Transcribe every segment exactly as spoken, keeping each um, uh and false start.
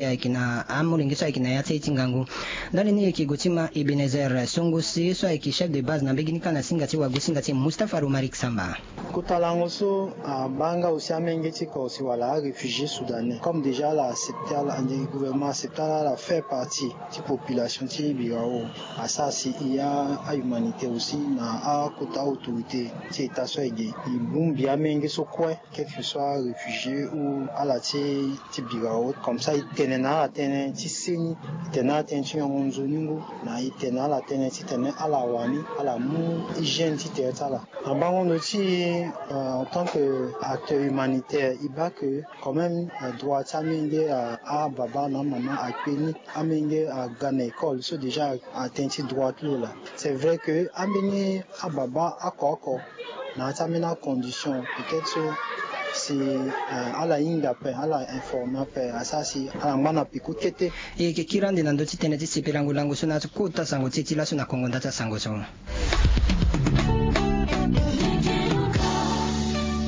ayeke na amolenge so ayeke na ya ti aye ti ngangu. Ndali ni e yeke gue ti ma Ebenezer Songose so ayeke chef de base na mbege ni kâ na singa ti wagosinga ti Mustapha Romaric Samba. Kota lango so abaa nga aussi amenge ti corse wala aréfugié soudanais comme déjà ala accepté ala ande gouvernement accepté ala ala fait partie ti population ti birao. Asara si e ya ahumanité aussi na akota autorité ti état so ayeke e bongbi amenge so kue, quelque soit réfugié ou ala ti ti birao comme ça e tene na ala tënë ti seni, e tene na ala tënë ti nyongo nzoni ngu, na e tene na ala tënë titene ala wani ala mu hygiène ti tere ti ala. Na bango ndo ti en tant que acteur humanitaire e baa que quand même droit ti amenge, ababa na amama akpe ni, amenge aga na école so déjà atene ti droit ti lo laa. C'est vrai que ambeni ababa oko oko na ya ti ambeni acondition peut-être so si ala hinga ape ala informe ape asara si ala ngba na peko kete. E yeke kiri ande na ndö ti tënë ti sepelango lango so na ya ti kota sango ti e ti laso na kongo nda ti asango so.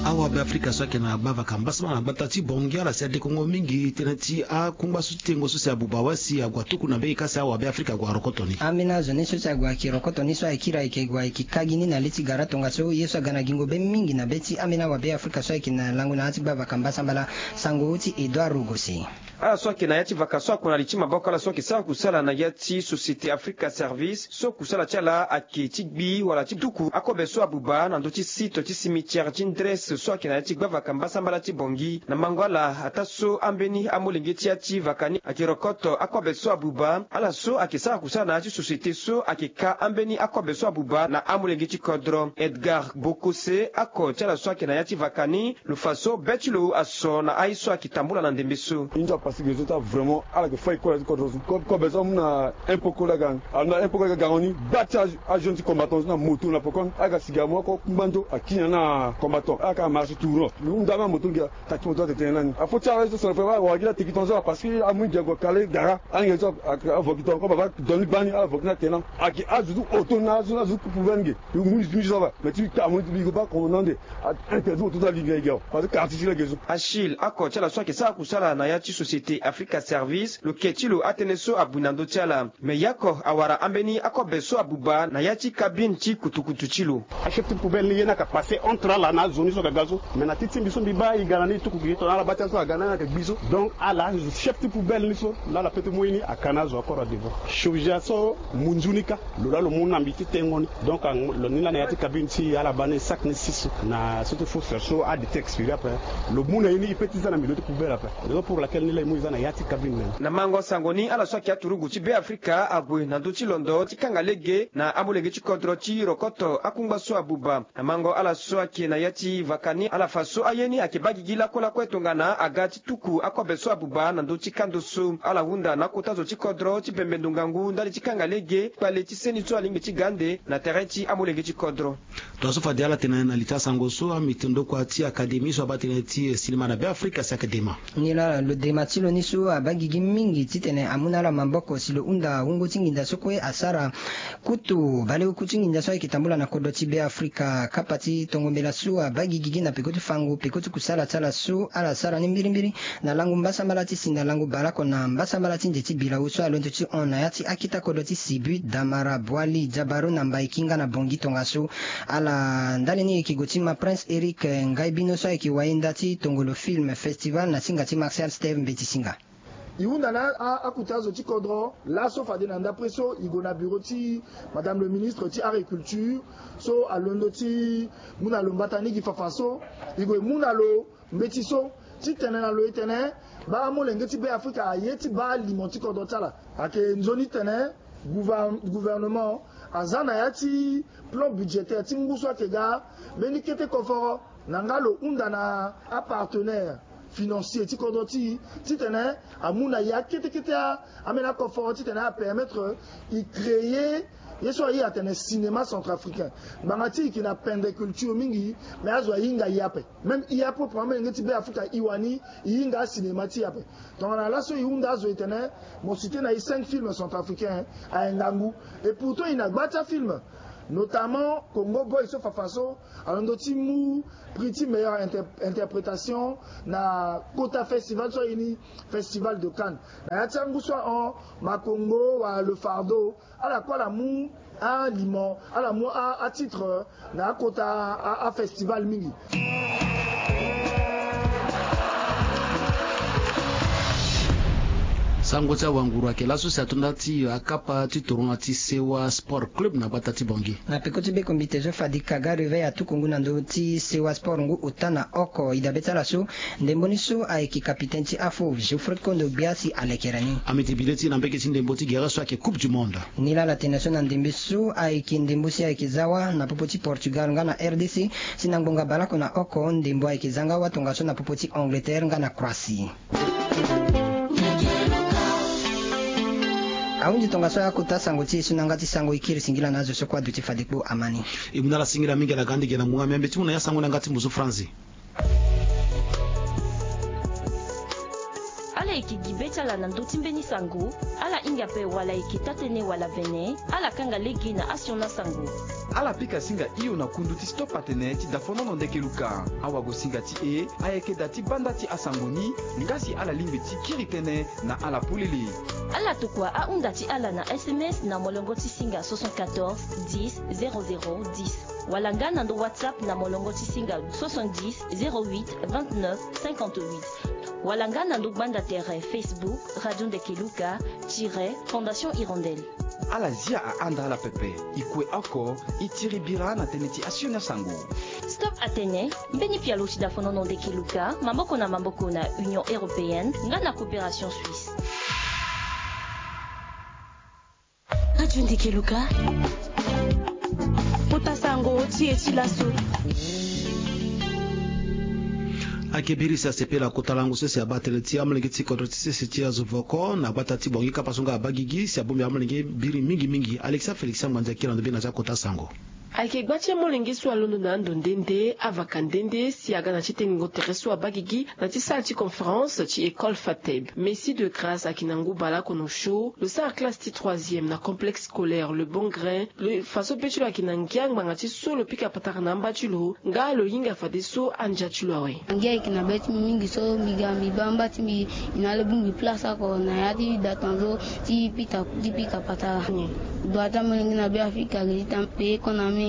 Awabe afrika so ayeke na gbavaka mbasama na gbata ti bongi ala si adekongo mingi tënë ti akungba so ti tengo so si abuba awe si ague atuku na mbege ka si awabe afrika ague arokoto ni. Ambeni azo ni so si ague ayeke rokoto ni so ayeke iri ayeke gue ayeke kagi ni na le ti gara tongaso ye so aga na gingo be mingi na be ti ambeni awabe afrika so ayeke na lango na ya ti gbavaka mbasambala. Sango ti Edouard Rogosi. Ala so ayeke na ya ti vaka so akuna li ti maboko ala so ayeke sara kusala na ya ti société africa service so kusala ti ala ayeke ti gbi wala ti duku akobe so abuba na ndö ti site ti cimetière ti ndresse so ayeke na ya ti gbavaka mbasambala ti bongi na mango ala ataa so ambeni amolenge ti ya ti vaka ni ayeke rokoto akobe so abuba ala so ayeke sara kusala na ya ti société so ayeke ka ambeni akobe so abuba na amolenge ti kodro edgar bokose ako ti ala so ayeke na ya ti vaka ni. Lo fa so be ti lo aso na aye so ayeke tambula na ndembe so. Inzo apasi gezo ti avraimont ala yeke fai kola ti kodro so kobe so amu na impoko laga. Ala na impoko laga gango ni gba ti ajeune ti combattant so na moto na poko ala yeke asi gamo oko kungba nzo akiri na combattant ala yeke amarche tourno. Lo hunda ambeni amoto ngia. Taki moto atene tene na ni afo ti ala so sona fo awara gi la teki tongaso parce que amu ngia gue kale gara. Ange so avoki tonga ko baba doni gbani ala voki na tena. Ayeke azo ti oto na azo ti azo ti poubelle nge. Yo mu ni ti mi so aba mais ti ka mu ni ti bi go baa commandant nde. Interdit oto ti ali nge nge awa parce que quartier ti lege so. Achille ako ti ala so ayeke sara kusala na ya ti société africa service lo ke ti lo atënë so abui na ndö ti ala. Mais ye oko awara ambeni akobe so abuba na ya ti cabine ti kutukutu ti lo. Achef ti poubelle ni ye ni ayeke passe entre ala na azo ni so aga ga so mais na ti ti mbi so mbi baa e ga na ni e tuku gi tongana ala baa ti azo so aga na ni ayeke gbi so. Donc ala chef ti poubelle ni so laa ala peut ti mu ye ni aka na azo akoro adevant chirurgien so. Munzu ni kâ lo laa lo mu na mbi ti tengo ni. Donc lo ni laa na ya ti cabine ti ala baa ni sac ni six na so ti foseur so ade ti expiri ape. Lo mu na ye ni e peut ti za na milieu ti poubelle ape. Raison pour laquelle ni laa e mu e za na ya ti cabine na ni. Na mango sango ni ala so ayeke aturugu ti be afrika ague na ndö ti londo ti kanga lege na amolenge ti kodro ti rokoto akungba so abuba. Na mango ala so ayeke na ya ti vaka ni ala fa so aye ni ayeke baa gigi lakue lakue tongana aga ti tuku akobe so abuba na ndö ti kando so ala hunda na akota zo ti kodro ti bembe ndo ngangu ndali ti kanga lege kpale ti seni so alingbi ti ga ande na tere ti amolenge ti kodro. Tongaso fade ala tene na li ti asango so amiti ndokua ti akademi so abaa tënë ti sinema na be afrika si ayeke dema. Ni laa lo dema ti lo ni so abaa gigi mingi titene amu na ala maboko si lo hunda wungo ti nginza so kue asara. Kutu baleoku ti nginza so ayeke tambula na kodro ti be afrika kapa ti tongo mbela so abaa gigi gi na peko ti fango peko ti kusala ti ala so ala sara ni mbirimbiri. Na lango mbasambala ti si na lango baleoko na mbasambala ti nze ti bilawu so alondo ti hon na ya ti akita kodro ti sibu damara bwali jabaru na mbai kinga na bongi tongaso. Ala ndali ni e yeke gue ti ma prince eric ngai bino so ayeke wayenda ti tongolo film festival na singa ti martial steve mbeti singa. E hunda na akuta azo ti kodro laso fade na ndapre so e gue na bureau ti madame le ministre ti agriculture so alondo ti mu na lo mbata ni gi fafa so e gue e mu na lo mbeti so ti tene na lo e tene baa amolenge ti be afrika aye ti baa alimo ti kodro ti ala. Ayeke nzoni tene gouvernement aza na ya ti plan budgétaire ti ngu so ayeke ga mbeni kete koforo na nga lo hunda na apartenaire financier ti kodro ti e titene amu na ya kete kete ambeni akoforo titene apermettre e créer ye so aye atene cinéma centrafricain. Ngbanga ti e yeke na pendre culture mingi mais azo ahinga ye ape. Même e ape proprement elenge ti be afrika e wani e hinga acinéma ti e ape. Tongana laso e hunda azo e tene mo site na e cinq films centrafricains aye ngangu. Et pourtant e na gba ti afilm Notamment Congo Boy so fafa so alondo ti mu prix ti meilleure interprétation na kota festival so aye ni Festival de Cannes. Na ya ti angu so ahon, Makongo wala Le Fardeau, ala kue ala mu alimo, ala mu atitre na akota afestival mingi. Sango ti awanguru ayeke laso si ato nda ti akapa ti toro na ti Sewa Sport Club na gbata ti Bangui. Na peko ti be komite so fadi kaga reveil atuku ngu na ndö ti Sewa Sport ngu ota na oko. E dabe ti ala so, ndembo ni so ayeke kapitene ti afo Geoffrey Kondo gbia si alekere ni. Amiti bile ti na mbeke ti ndembo ti gere so ayeke Coupe du Monde. Ni laa ala tene so na ndembe so ayeke ndembo si ayeke za wa na popo ti Portugal nga na R D C, si na ngbonga baleoko na oko ndembo ayeke za nga wa tongaso na popo ti Angleterre nga na Croatie. Ahunzi tongaso ya kota sango ti e so na yanga ti sango e kiri singila na azo so kue aduti fade kpo amani. E mu na ala singila mingi ala ga ande gi na munga miambe ti mu na ya sango na yanga ti mbuzu franzi. Ala yeke gi be ti ala na ndö ti mbeni sango. Ala hinga ape wala ayeke taa-tënë wala vene, ala kanga lege na asioni asango. Ala pika singa hio na kundu ti Stop Atene ti dafonono ndeke luka. Awagosinga ti e ayeke da ti banda ti asango ni. Nga si ala lingbi ti kiri tënë na ala polele. Ala tokua ahunda ti ala na S M S na molongo ti singa soixante-quatorze dix zéro zéro dix, wala nga na ndo WhatsApp na molongo ti singa soixante-dix zéro huit vingt-neuf cinquante-huit, wala nga na ndo gbanda tere Facebook Radio Ndeke Luka tiret Fondation Hirondelle. Ala zia ahanda ala pepe. E kue oko, e tiri bira na tënë ti asioni asango. Stop Atene, mbeni pialo ti dafonono ndeke luka maboko na maboko na Union Européenne nga na Coopération Suisse. Radio Ndeke Luka. Kota sango ti e ti laso. Ayeke biri si asepela kota lango so si abaa tënë ti amolenge ti kodro ti sese ti azo voko na gbata ti Bangui kapa so nga abaa gigi si abongbi amolenge biri mingi mingi. Alexia Félix Angbandia akiri na ndo be na ti akota sango. Ayeke gba ti amolenge so alondo na ando nde nde, avaka nde nde si aga na ti tengo tere so abaa gigi na ti salle ti conférence ti école Fateb. Messie de Grâce ayeke na ngu baleoko na osio, lo sara classe ti troisième na complexe scolaire Le Bon Grain. Lo fa so be ti lo ayeke na ngia ngbanga ti so lo pika patara na amba ti lo, nga lo hinga fadeso andia ti lo awe. Ngia ayeke na be ti mbi mingi so mbi ga mbi baa amba ti mbi. E na ala bongbi place oko na ya ti da tongaso ti pika ti pika patara. Dua ti amolenge na Beafrika ayeke ti tene mpe e kona amolenge.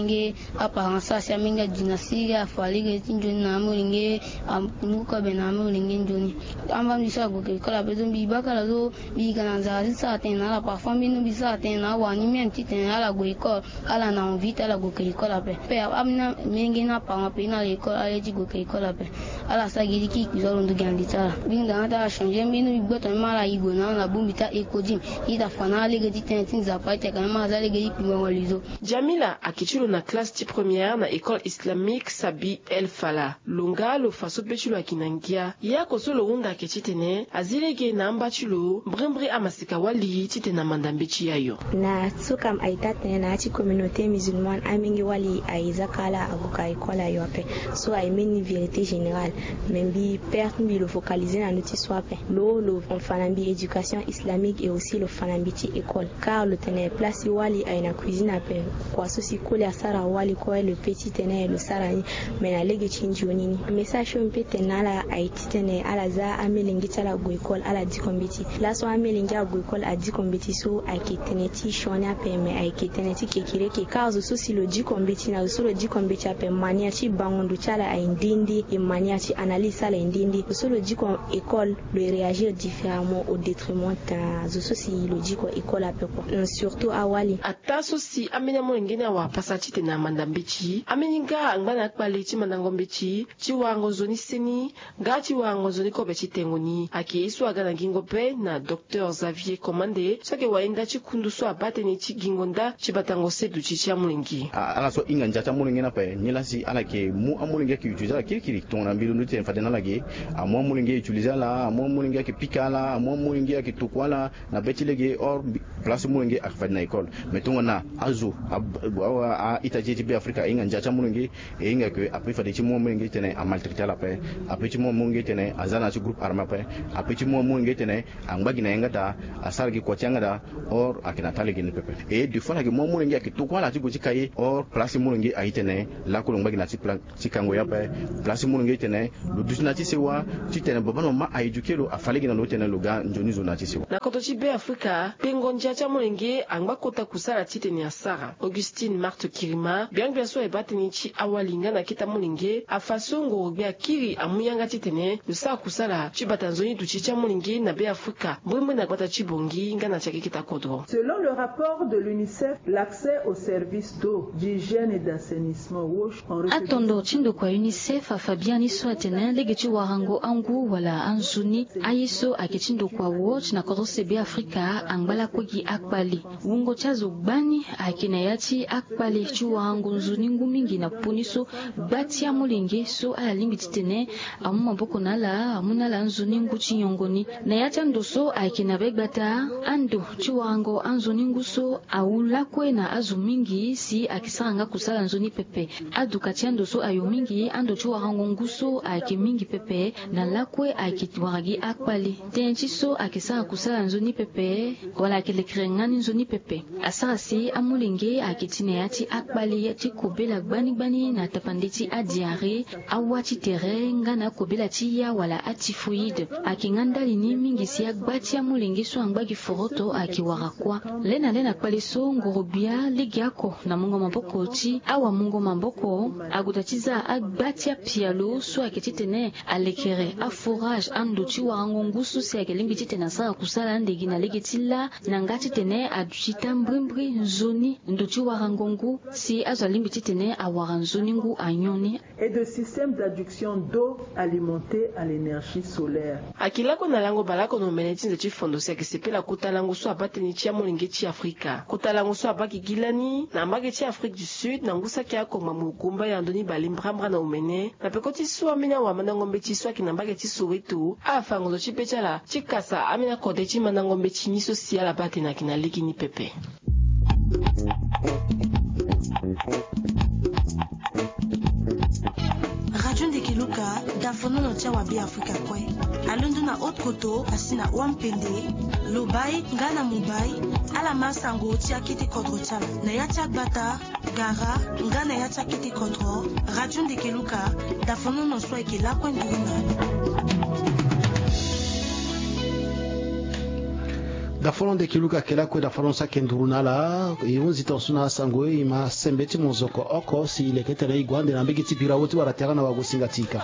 Aparent so asi amolenge adu na siriri afa lege ti nzoni na amolenge. Akundu kobe na amolenge nzoni. Amba mbi so ague ke école ape so mbi baka ala so. Mbi yika na nzara ti sara tënë na ala parfois mbi no mbi sara tënë na awani même titene ala gue école. Ala na envie ti ala gue ke école ape. Pe amolenge na aparent ape ni ala école ala ye ti gue ke école ape. Ala sara gi ti kiri kpi so alondo gi na li ti ala. Mbi hinga na ala ti ala changer mbi no mbi gboto ni ma ala yigo na ala na bongbi ti a-éco ti mbi. Ita fa na ala lege ti tënë ti nzapa ita ka ni ma ala za lege ti kpi ngongo lizo. Jamila ayeke ti lo na classe ti première na école islamique Sabi El Fala. Lo nga lo fa so be ti lo ayeke na ngia. Yako so lo hunda ayeke titene azi lege na amba ti lo mbrimbri amaseka wali titene amanda mbeti ayo. Na sukam aita tene na ya ti communauté musulmane amenge wali aye zaka ala ague ka école ayo ape. So aye mbeni vérité générale. Mais mbi père ti mbi lo focaliser na ndö ti so ape. Lo lo fa na mbi éducation islamique et aussi lo fa na mbi ti école. Car lo tene place ti wali aye na cuisine ape. Kua so si koli asara wali kue lo pe titene lo sara ni. Mais na lege ti nzoni ni. Message so mbi pe tene na ala aye titene ala za amelenge ti ala ague école ala diko mbeti. Laso amelenge ague école adiko mbeti so ayeke tene ti sioni ape mais ayeke tene ti kekereke. Car zo so si lo diko mbeti na zo so lo diko mbeti ape manière ti bango ndo ti ala aye nde nde. E manière ti analyse ti ala aye nde nde. Zo so lo diko école lo e réagir différemment au détriment na zo so si lo diko école ape kua. Surtout awali. Ataa so si ambeni amolenge ni awara pasa titene amanda mbeti, ambeni nga angba na akpale ti mandango mbeti ti warango nzoni seni nga ti warango nzoni kobe ti tengo ni. Ayeke ye so aga na gingo be na docteur Xavier Commande so ayeke wahinda ti kundu so abaa tënë ti gingo nda ti batango seduti ti amolenge. Ala so ahinga ndia ti amolenge ni ape nilaa si ala yeke mu amolenge ayeke utiliser ala kirikiri tongana mbi londo titene fade na ala ge. Amu amolenge utiliser ala, amu amolenge ayeke pika ala, amu amolenge ayeke tokua ala na be ti lege hors place ti molenge ayeke fade na école. Mais tongana azo a A-ita ti e ti Be Afrika ahinga ndia ti amolenge, e hinga ke ape fade ti mu amolenge ti tene amaltraité ala ape, ape ti mu amolenge ti tene aza na ya ti groupe armé ape, ape ti mu amolenge ti tene angba gi na yanga daa, asara gi kua ti yanga daa. Or ayeke na taa lege ni pepe. E deux fois ala yeke mu amolenge, ayeke tokua ala ti gue ti ka ye. Or place ti molenge aye ti tene lakue lo ngba gi na ti pla ti kango ye ape. Place ti molenge ti tene lo duti na ya ti sewa, ti tene baba na mama a éduqué lo, afâ lege na lo ti tene lo ga nzoni zo na ya ti sewa. Na kodro ti Be Afrika, pengo ndia ti amolenge angba kota kusala ti tene asara. Augustine Marthe Kirima, gbia-gbia so aye baa tënë ti awali nga na akete amolenge, afa so ngoro-gbia akiri amu yanga ti tene lo sara kusala ti bata nzoni duti ti amolenge na Be Afrika, mbrimbri na gbata ti Bangui nga na ti akeketa kodro. Selon le rapport de l'UNICEF, l'accès aux services d'eau, d'hygiène et d'assainissement, WASH, en République Atondo ti ndokua UNICEF afa biani so atene lege ti warango angu wala anzoni, aye so ayeke ti ndokua WASH na kodro se Be Afrika angba lakue gi akpale. Wungo ti azo gbani ayeke na ya ti akpale ti warango nzoni ngu mingi na popo ni so gba ti amolenge so ala lingbi ti tene amu maboko na ala, amu na ala nzoni ngu ti nyongo ni. Na ya ti ando so ayeke na be gbata, ando ti warango anzoni ngu so awu lakue na azo mingi si ayeke sara nga kusala nzoni pepe. Aduka ti ando so ayo mingi, ando ti warango ngu so ayeke mingi pepe, na lakue ayeke wara gi akpale. Tënë ti so ayeke sara kusala nzoni pepe, wala ayeke lekere nga ni nzoni pepe. Asara si amolenge ayeke ti na ya ti akpale ti kobela gbani gbani na tapande ti adiarrhée, awa ti tere nga na akobela ti ya wala atyphoïde. Ayeke nga ndali ni mingi si agba ti amolenge so angba gi foroto ayeke wara kuâ. Le na le na kpale so ngoro-gbia lege oko na mungo maboko ti awamungo maboko ague daa ti za agba ti apialo so ayeke ti tene alekere aforage ando ti warango ngu so si ayeke lingbi ti tene asara kusala ande gi na lege ti lâ, na nga ti tene aduti taa mbrimbri nzoni ndo ti warango ngu si azo alingbi ti tene awara nzoni ngu anyon ni. Et de systèmes d'adduction d'eau alimentée à l'énergie solaire. Ayeke lakue na lango baleoko na omene ti nze ti fondo si ayeke sepela kota lango so abaa tënë ti amolenge ti Afrika. Kota lango so abaa gigi lani na mbage ti Afrique du Sud na ngu saki oko ngbangbo gumba ya ndoni bale mbrambra na omene. Na peko ti so ambeni awamandango mbeti so ayeke na mbage ti Soweto afa ngonzo ti be ti ala ti kasa ambeni akode ti mandango mbeti ni so si ala baa tënë ayeke na lege ni pepe. Radio Ndeke Luka, dafonono ti awa Be Afrika kue. Alondo na haute koto asi na Wampende, Lobaye nga na Mobaye. Ala ma sango ti akete kodro ti ala na ya ti agbata, gara nga na ya ti akete kodro. Radio Ndeke Luka, dafonono so ayeke lakue nduru na ala. Dafonono Ndeke Luka ayeke lakue, dafonono so ayeke nduru na ala. E hunzi tongaso na asango, e ma sembe ti mozoko oko si e leke tene e gue ande na mbege ti birawo ti wara tere na wagosinga ti ika.